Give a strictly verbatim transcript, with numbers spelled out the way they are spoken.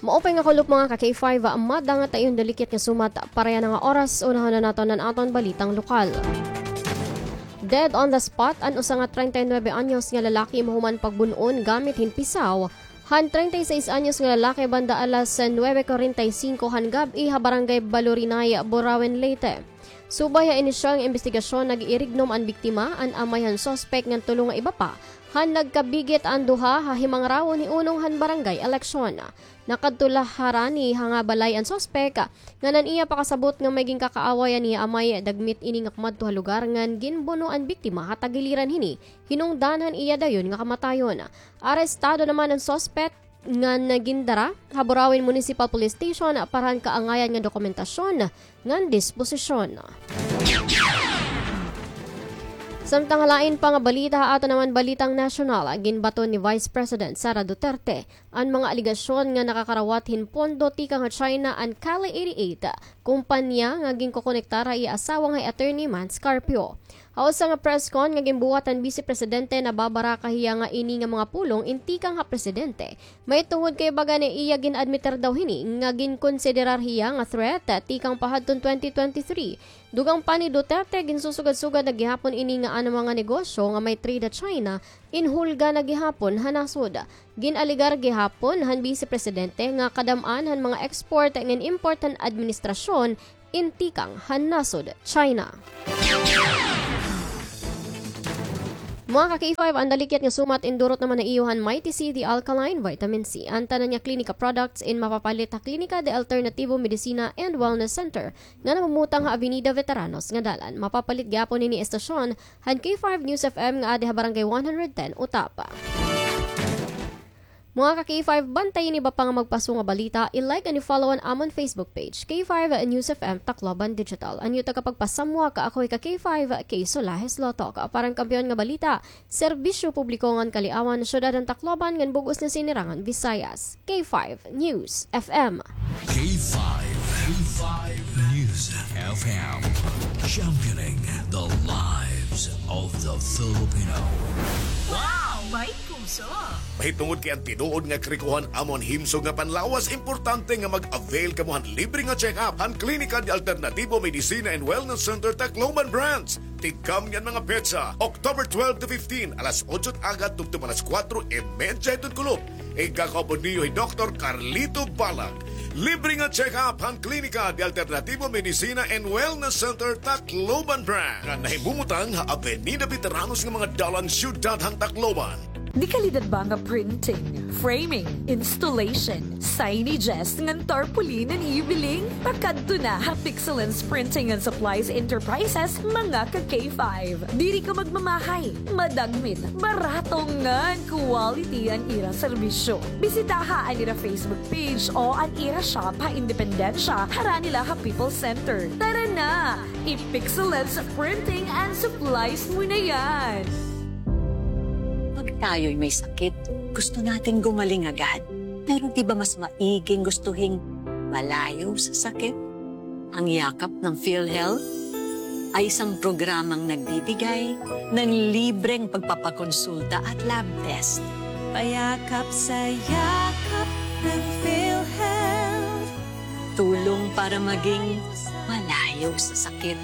Maupay nga kulop, mga ka K five, madangat ha iyo han dalikyat nga sumat para yana nga oras. Unahon na naton an aton balitang lokal. Dead on the spot an usa nga treinta y nuebe anyos nga lalaki mahuman pagbun-on gamit hin pisaw han treinta y seis anyos nga lalaki banda alas nuebe cuarenta y cinco han gab-i ha Barangay Balurinay, Burauen, Leyte. Subay ha inisyal nga imbestigasyon, nag-iirignom an biktima, an amay han suspek ngan tulo nga iba pa, han nagkabigit an duha ha himangrawon hiunong han barangay eleksyon. Nakadto la harani ha nga balay an suspek, ngan an iya pakasabot nga may ginkakaaway an iya amay, dagmit ini nga kumadto ha lugar ngan ginbuno an biktima ha tagiliran hini, hinungdan han iya dayon nga kamatayon. Arestado naman an suspek ngan gindara ha Burauen Municipal Police Station para han kaangayan nga dokumentasyon ngan disposisyon. Samtang ha lain pa nga balita, ha aton naman balitang nasyonal, ginbaton ni Vice President Sara Duterte an mga alegasyon nga nakakarawat hin pondo tikang ha China an Kali eighty-eight, kompanya nga ginkokonektar ha iya asawa nga hi Attorney Mans Carpio. Ha usa nga press con nga ginbuhat han Bise Presidente, nababaraka hiya nga ini nga mga pulong in tikang ha Presidente, mahitungod kay baga nga iya gin-admitir daw hini nga ginkonsiderar hiya nga threat tikang pa hadton twenty twenty-three. Dugang pa ni Duterte, ginsusugad-sugad na gihapon ini nga an mga negosyo nga may trade ha China, inhulga na gihapon ha nasod. Gin-alegar gihapon han Bise Presidente nga kadam-an han mga export ngan import han administrasyon in tikang han nasod China. Mga ka K five, an dalikyat nga sumat indurot naman ha iyo han Mighty C, the alkaline vitamin C. An tanan nga klinika products in mapapalit ha Klinika de Alternativo Medicina and Wellness Center nga namumutang ha Avenida Veteranos nga dalan. Mapapalit gihapon ini istasyon han K five News F M nga adi ha Barangay one hundred ten, Utapa. Mga ka K five, bantayi an iba pa nga magpaso nga balita, i-like and i-follow an amon Facebook page, K five News F M Tacloban Digital. An iyo tagapagpasamwak, ako hi ka K five, Kay Solahes Lotok. Para han kampiyon nga balita, serbisyo publiko ngan kaliawan, syudad han Tacloban ngan bug-os nga sinirangan Visayas. K five News F M. K five, K five News F M. Championing the lives of the Filipino. Wow! May puso! Mahitungod kay an tinuod nga karikohan amon himsog nga panlawas, importante nga mag-avail kamo han libre nga check-up han Klinika de Alternativo Medicina and Wellness Center Tacloban Branch. Tigkam niyan mga petsa, October twelve to fifteen, alas otso agad tubtob alas kuwatro y medya hiton kulop. Igkakaupod niyo hi Doktor Carlito Balag. Libre nga check-up han Klinika de Alternativo Medicina and Wellness Center Tacloban Branch, nga nahimumutang ha Avenida Veteranos nga mga dalan, syudad han Tacloban. Dekalidad ba nga printing, framing, installation, signages, ngan tarpaulin an iyo biling? Pakadto na ha Pixelens Printing and Supplies Enterprises, mga ka K five. Diri ka magmamahay, madagmit, barato ngan quality an ira serbisyo. Bisitaha an ira Facebook page o an ira shop ha Independencia, harani la ha People's Center. Tara na! I-Pixelens Printing and Supplies mo na yan! Pag tayo'y may sakit, gusto natin gumaling agad. Pero di ba mas maiging gustuhin malayo sa sakit? Ang Yakap ng PhilHealth ay isang programang nagbibigay ng libreng pagpapakonsulta at lab test. Payakap sa yakap ng PhilHealth. Tulong para maging malayo sa sakit.